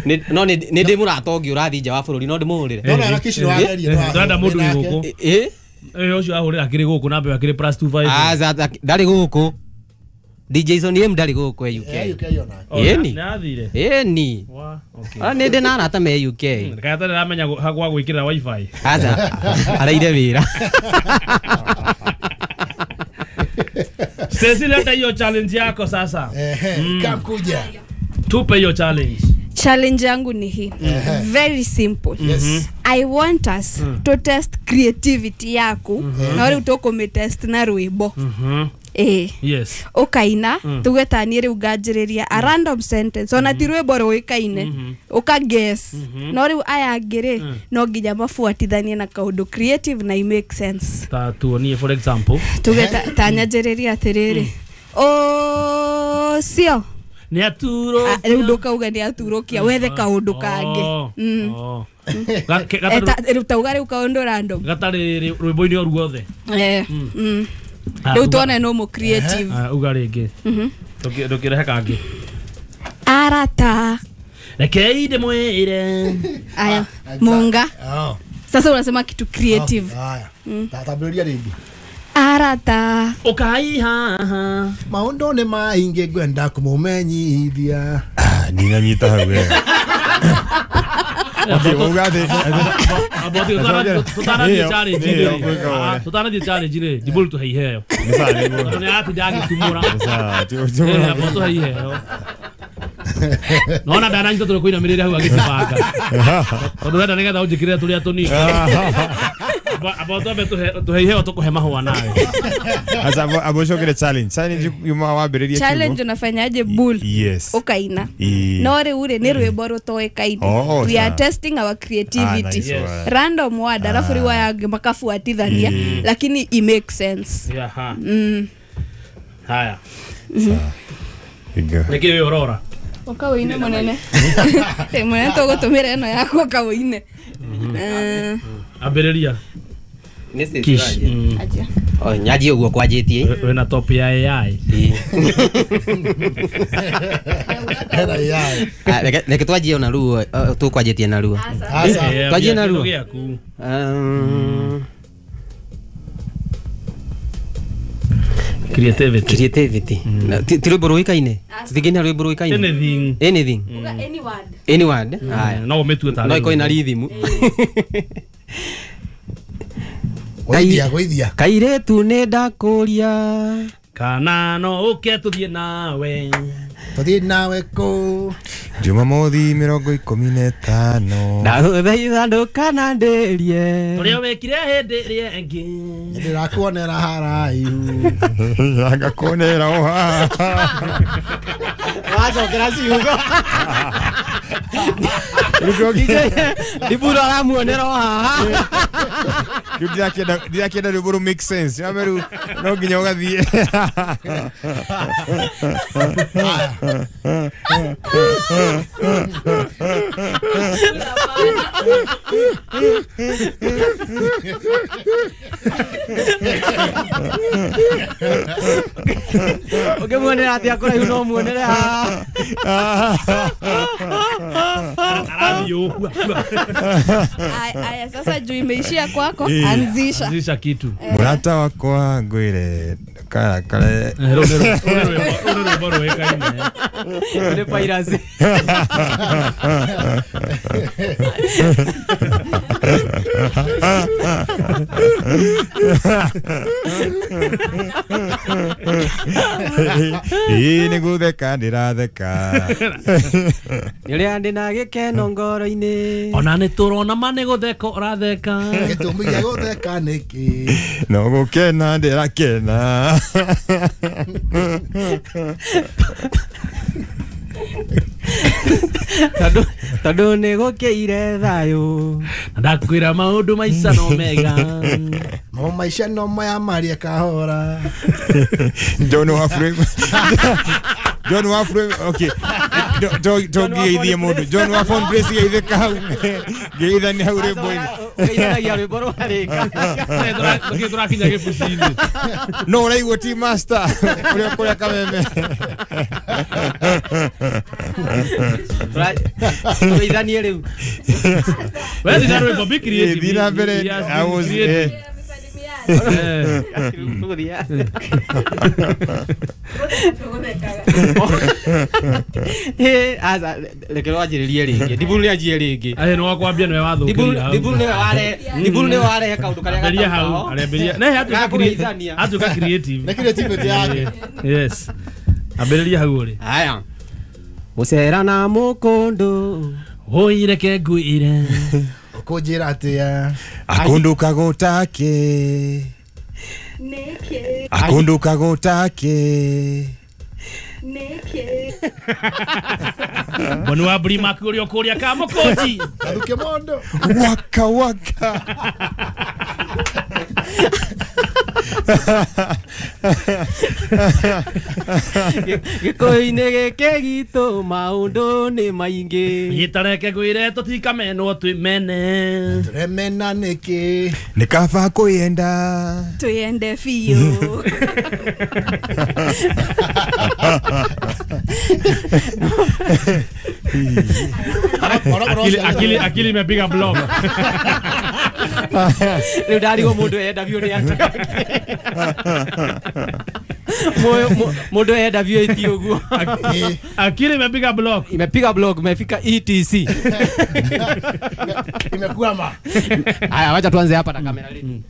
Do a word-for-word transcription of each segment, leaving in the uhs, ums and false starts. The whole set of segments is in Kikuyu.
Ni no ni ni ndi murata ungi urathi nja wa bururi no ndimuhurire. No na Kish ni wageria no. Ndanda mundu wi guku. Eh? Eh ucio ahurira akiri guku namba akiri plus two five. Ah ndari guku. D J Sonny M ndari guku U K. U K ona. Eni. Ni athire. Eni. Wa okay. Ah ni ndi na arata me U K. Kaya tare ramenya gwa gwikirira wifi. Aca araire wira. Cecilia, leta hiyo challenge yako sasa. Ehe, mm. Kamkuja. Tupe hiyo challenge. Challenge yangu ni hii. Very simple. Yes. Mm -hmm. I want us mm. to test creativity yaku. Mm -hmm. Na wale utoko me test na rwimbo. Mm -hmm. Eh. Yes. Ukaina mm. tuge tani riu nganjiriria a random sentence ona ti rwimbo ruikaine mm -hmm. uka guess mm -hmm. no riu aya angĩ mm. no nginya mabuatithanie na kaundu creative na i make sense. Ta tuonie for example tuge ta nyanjiriria atiriri o sio ni aturo riu ndukauga ni aturokia wethe kaundu kangi. Mm. Riu tauga riu kaundu random gatari rwimbo-ini o ruothe. Eh. Mm. Riu tuone no mo creative. Ah uga ringi. Mhm. Ndukirehe kangi. Arata. Rekei ndimwire. Aya, Munga. Oh. Sasa unasema kitu creative. Haya. Tatambulia ringi. Arata. Ukai haha. Maundu ni maingi ngwenda kumumenyithia. Ah ninanyita hau we. Tutanathie challenge ri. Tutanathie challenge ri. Ndibulu tuhe iheo. Tondu ni aratinda agitumura. Abo tuhe iheo. Nona ndananyita turi kuinamirira hau agitibanga. Tondu wenda nigetha unjikirire turia tunini. Abo twambe tuhe iheo tukuhe mahua nawe. Asa abo cokere challenge. Challenge yuma wambiririe kiugo. Challenge unafanyaje bull? Yes. Ukaina. No riu ri ni rwimbo rutoikaine. We are testing our creativity. Ah, nice. Yes. Random word alafu riu aya angĩ makabuatithania lakini i make sense. Yeah. Mm. Haya. Iga. Niki wi urora? Ukawine munene. Eh munene tugutumira eno yaku ukawine. Eh ambiriria. Nĩ Kish. Aja. Oh nyaji uguo kwanjitie. Wina top ya A I. Era A I. Ah reke twanjie ona ruo tukwanjitie na ruo. Asa. Twanjie na ruo. Um Creativity. Creativity. Ti rwimbo ruikaine. Tutingina rwimbo ruikaine. Anything. Anything. Any word. Any word. Haya. No umetue ta. No iko ina rhythm. Goithia goithia. Kairetu ni ndakuria. Kana no uke tuthie nawe. Tuthie nawe ku. Jumamothi mirongo ikumi na ĩtano. Ndagũthaitha ndũkananderie. Ũrĩa wekire hĩndĩ ĩrĩa ĩngĩ. Ndĩrakuonera haraihu. Ngakuonera o haha. Wacokera ciugo. Ndiburo aramuonera o haha. Rĩu ndirakĩenda ndirakĩenda rwĩmbo rũ make sense. Rĩu no nginya ũgathiĩ. Ũngĩmuonera atĩa kũraihu no muonere haha. Aya sasa juu imeishia kwako anzisha. Anzisha kitu. Murata wakwa ngwire kara kare. Rũrũ rwĩkaine. Nĩ piracy. Ĩĩ nĩ gũtheka ndĩratheka. Nĩ ũrĩa ndĩ na gĩkeno ngoro-inĩ. Ona nĩ tũrona ma nĩ gũtheka ũratheka. Gĩtũmi gĩa gũtheka nĩkĩ? No gũkena ndĩrakena. Tondu tondu nĩ gũkĩire thayũ. Na ndakwĩra maũndũ maica no mega. Mo maica no maya maria kahora. John wa frame. John wa frame okay. Tongigeithie mundu John wa phone place geithĩka hau. Geithania hau rwĩmbo-inĩ. Kaithanagia rwĩmbo rwarĩka. Tũkĩ tũrakinya gĩbuci-inĩ. No ũraigua ti master ũrĩa kũrĩa Kameme. Tũgeithanie rĩu. We thina rwĩmbo, be creative. Thiĩ na mbere. I was eh Eh, aza reke rwanjĩrĩrie rĩngĩ. Ndiburu nĩ anjie rĩngĩ. Ahe nĩ wakwambia nĩwe wathũkĩria hau. Ndiburu nĩwe ware, Ndiburu nĩwe warehe kaũndũ karĩa Ambĩrĩria hau, gatauka ho. arambĩrĩria. Ne hatuĩka Gakũgeithania. atuĩka creative. Nĩ creativity yake. Yes. Ambĩrĩria hau ũrĩ. Haya. Gũcera na mũkũndũ. Oi reke ngwĩre. Ũkũnjĩra atĩa? Akunduka gũtake. Nĩkĩ? Akunduka gũtake. Nĩkĩ? Bonu wa Brimac ũrĩa ũkũrĩa Kamũkũnji. Athuke mondo. Waka waka. Gĩkũyũ-inĩ gĩkĩ gitũ maũndũ nĩ maingĩ. Gĩtareke ngwĩre tũtikamenwo twĩmene. Tũremena nĩkĩ? Nĩ kaba kwĩyenda. Twĩyende biũ. Akili akili akili imepiga block. Rĩu ndarigwo mũndũ eyenda biũ nĩ atĩa. Mũndũ eyenda biũ ĩti ũguo. Akili imepiga block. Imepiga block, imefika E T C. Imekwama. Haya, wacha tuanze hapa na kamera letu.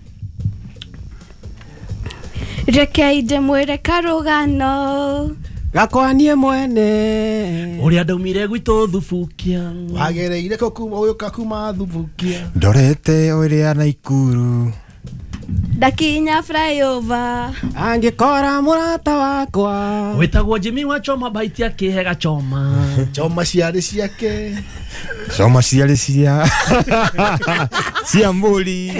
Reke ndĩmwĩre karũgano. Gakwa niĩ mwene. Ũrĩa ndaumire gwitũ Thubukia. Wagereire kũ kuma ũyũka kuma Thubukia. Ndorete ũrĩa Naikuru. Ndakinya flyover. Angĩkora mũrata wakwa. Wĩtagwo Jimmy wa Choma baiti akĩhe gachoma. Choma ciarĩ ciake. Choma ciarĩ cia cia mbũri.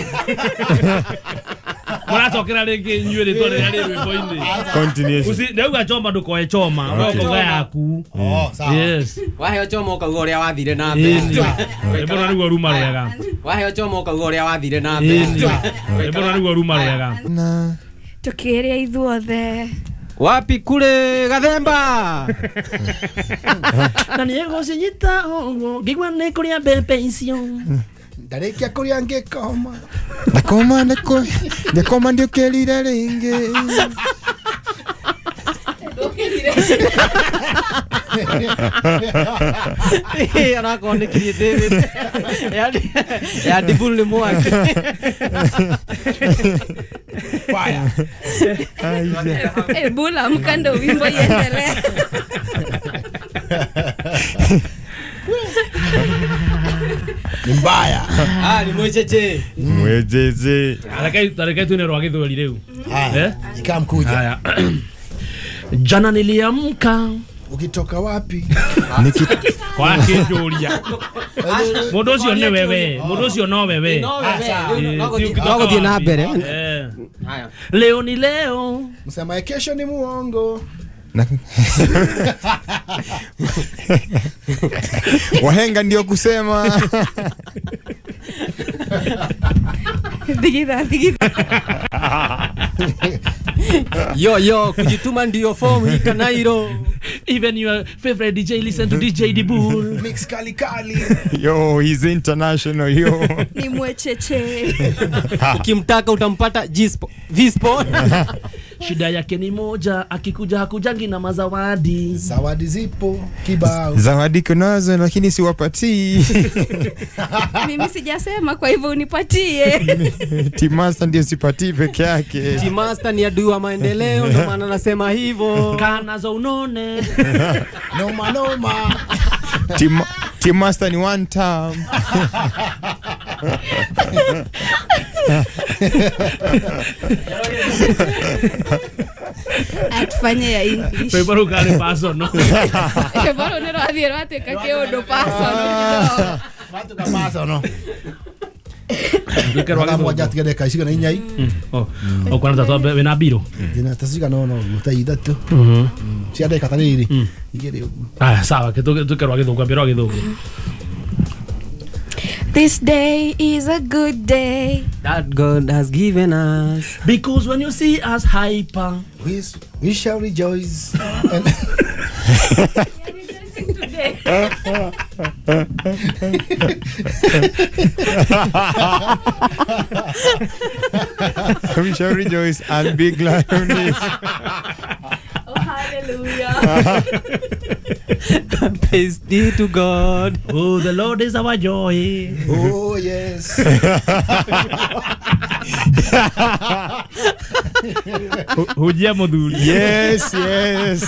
Mũracokera rĩngĩ inyuĩ rĩtwa rĩrĩa rĩ rwĩmbo-inĩ. Continuation. Uci ndauga choma ndũkoe choma, Okay. ũkoga yaku. Oh, sawa. Yes. Waheo choma ũkauga ũrĩa wathire na mbere. Rwĩmbo rũrũ nĩguo ruma rwega. Waheo choma ũkauga ũrĩa wathire na mbere. Rwĩmbo rũrũ nĩguo ruma rwega. Na Tũkĩrĩa ithuothe. Wapi kule Gathemba? Na nĩegũcinyita ũguo ngĩigua nĩ kũrĩa mbembe icio. Ndarĩkia kũrĩa ngĩkoma. Ndakoma ndako ndakoma ndiũkĩrire rĩngĩ. Eh, anakorwo nĩ creativity. Ya ya Ndiburu nĩ mwaki. Fire. Eh, bula mkando wimbo iendelee. Ni mbaya. Ah, ni mwecheche. Mwecheche. Reke reke tuine rwa gĩthweri rĩu. Haya. Ikamkuja. Haya. Jana niliamka. Ukitoka wapi? Niki kwa kĩnjũria. Mũndũ ũcio nĩ wewe, mũndũ ũcio no wewe. No wewe. No gũthiĩ na mbere. Eh. Haya. Leo ni leo. Msema kesho ni muongo. Wahenga ndio kusema. Digida, digida. Yo yo, kujituma ndio form hii Kanairo. Even your favorite D J listen to D J Dibul. Mix kali kali. Yo, he's international yo. Ni mwecheche. Ukimtaka utampata G-Sport, V-Sport. Shida yake ni moja, akikuja hakujangi na mazawadi. Zawadi zipo kibao. Zawadi kunazo lakini siwapatii. Mimi sijasema kwa hivyo unipatie. T-Master ndio sipatii peke yake. T-Master ni adui wa maendeleo ndio maana nasema hivyo. Kana za unone. Noma noma. T-Master ni one time. Atufanye ya English. Rwĩmbo rũu karĩ personal. Rwĩmbo rũu nĩ rwathiĩ rwatuĩka kĩũndũ personal. Rwatuĩka personal. Rwĩke rwa Mathaa mũgwanja atiga ndagĩka cigana inya i. Oh, ũkona ta twambe wĩna mbirũ? Ndĩna ta cigana ũna ũguo ta ithatũ. Cia ndagĩka ta rĩrĩ igĩrĩ ũguo. Aya sawa, twĩke rwa gĩthũngũ, ambia rwa gĩthũngũ. This day is a good day that God has given us. Because when you see us hyper, we, we shall rejoice. And we are rejoicing today. We shall rejoice and be glad on it. Oh, hallelujah. Praise be to God. Oh, the Lord is our joy. Oh, yes. Hujia muthuri. Yes, yes.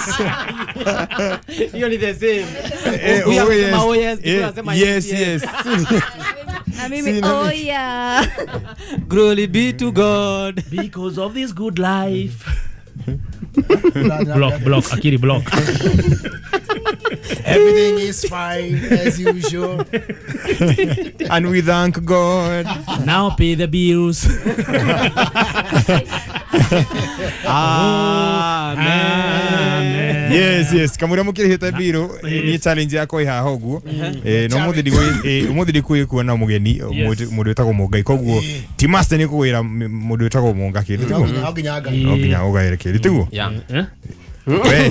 Hiyo ni the same. Eh, oh, yes. Oh, yes. Yes, yes. Na mimi, oh yeah. Glory be to God. Because of this good life. Block, block, akiri block. Everything is fine as usual. And we thank God. Now pay the bills. Amen. Yes, yes. Kamura mukirihite biro ni challenge yakwa ihaha uguo. Eh no muthi ndigwe umuthi ndikwi kuona mugeni mundu wetagwo Mungai koguo ti master ni kuwira mundu wetagwo Munga kindu tiguo. No nginya ngai. No nginya ugaire kindu tiguo. Yeah. We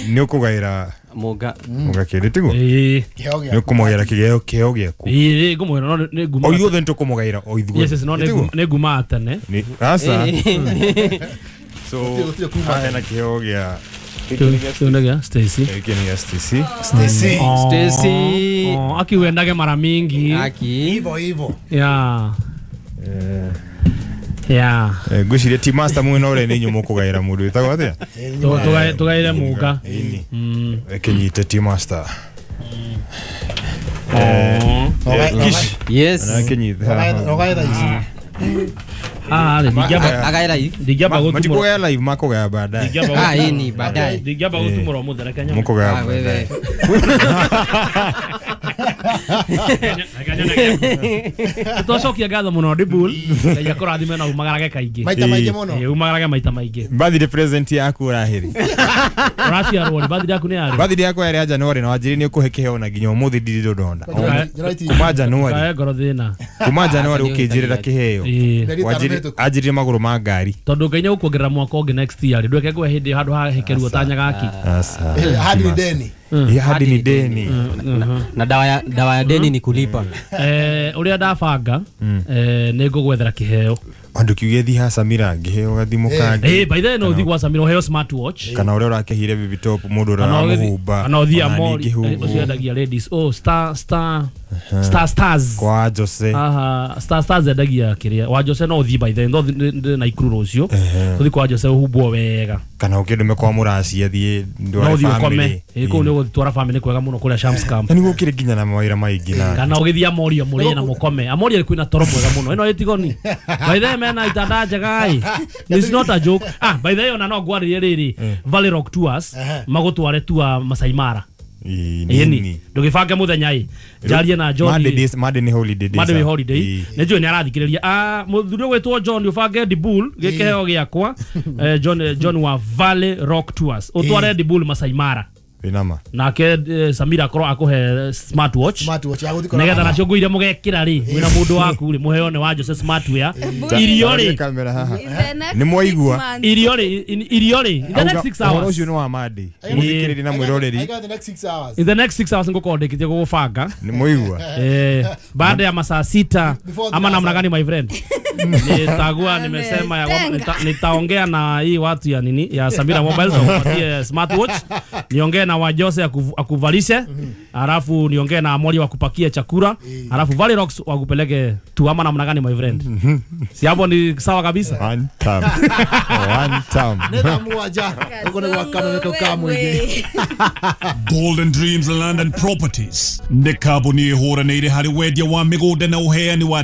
ni ukugaira Munga Munga kindu tiguo. Eh. Ni ukumugaira kigeo kiheo giaku. Eh ngumuhera no ni nguma. O ithuothe ni tukumugaira o ithuothe. Yes, yes, no ni nguma atene. Ni asa. So na kiheo gia Kiunagia Stacy. Kiunagia Stacy. Stacy. Stacy. Oh, aki uendage mara mingi. Aki. Hivyo hivyo. Yeah. Eh. Yeah. Eh ngwiciria ti master mwena ure ni nyumo kugaira mundu wetagwo atia? Tugaire tugaire Munga. Mm. Kinyite ti master. Eh. Yes. Kinyite. Rogaira ici. Ah, ndingiamba agaira hii ndingiamba gutumura matikugaya live makugaya baadaye. Ah, hii ni baadaye. Ndingiamba gutumura umuthi reke nyone. Mukugaya baadaye. Twacokia ngatho muno Dibul. Ngai akũrathime na umagarage kaingĩ. Maita maingĩ mũno. Eh, umagarage maita maingĩ. Birthday present yaku ũrahĩri. Ũraciarwo rĩ, birthday yaku nĩ yarĩ? Birthday yakwa yarĩ ya January na wanjĩrire nĩ ũkũhe kĩheo na nginya ũmũthĩ ndirĩ ndonda. Kuma January. Kae ngoro thĩna. Kuma January ũkĩnjĩrĩra kĩheo. Wanjĩrire magũrũ ma ngari. Tondũ Ngai nĩegũkuongerera mwaka ũngĩ next year rĩ, ndweke ngwe hĩndĩ handũ hahekerwo ta nyagaki. Asa. Hadi ni deni. Hadi ni deni. Na dawa ya dawa ya deni ni kulipa. Eh, uria ndabanga eh nĩ ngũgwethera kĩheo. Andu kiuge thi ha Samira ngiheo gathimu kangi. Eh, by the way no thi gwa Samira uheo smartwatch. Kana uria urakehire baby top mundu uramuhumba. Kana uthi Amori ucio endagia ladies. Oh, star star star stars. Kwa Jose. Aha, star stars endagia kiria. Wa Jose no uthi by the way no na ikuru rucio. Uthi kwa Jose uhumbwo wega. Kana ukindume kwa muraci athie ndware family. Eh, kuu ni uguthitwara family kwega muno kuria Shams Camp. Na niguo kire nginya na mawira maingi na. Kana ugithia Amori murie na mukome. Amori kwina toro mwega muno. Ino itigoni. By the way mena itanda njega ai. It's not a joke. Ah, by the way ona no ngwaririe riri Valley Rock Tours magutware tour Masai Mara. Ĩni ndũgĩbange mũthenya ĩ njarie na John Monday days Monday ni holiday days Monday holiday nĩ njũĩ nĩ arathikĩrĩria ah mũthuri ũgwĩtwo John ũbange Dibul gĩkĩheo gĩakwa John John wa Valley Rock Tours ũtware Dibul Masai Mara Inama. Nake Samira akorwo akuhe smartwatch smartwatch ya guthikora nigetha nacio nguo iria mugekira ri mwina mundu waku ri muheo ni wa Jose smartwear irio ri ni mwaigua irio ri irio ri in the next six hours ucio ni wa Monday muthikiriri na mwiroreri I got the next six hours in the next six hours ngukorwo ndikitie gugubanga ni mwaigua eh baada ya masaa sita ama namna gani my friend nitagua nimesema ya nitaongea na hii watu ya nini ya Samira Mobile wapatie smartwatch niongee na wa Jose akuvalishe alafu niongee na Amori wakupakie chakula alafu Valley Rocks wakupeleke tu ama namna gani my friend si hapo ni sawa kabisa one time one time nenda muaja uko na wakana kwa mwingi Golden Dreams Land and Properties nĩ kambuni ĩhũranĩire harĩ wendia wa mĩgũnda na ũheani wa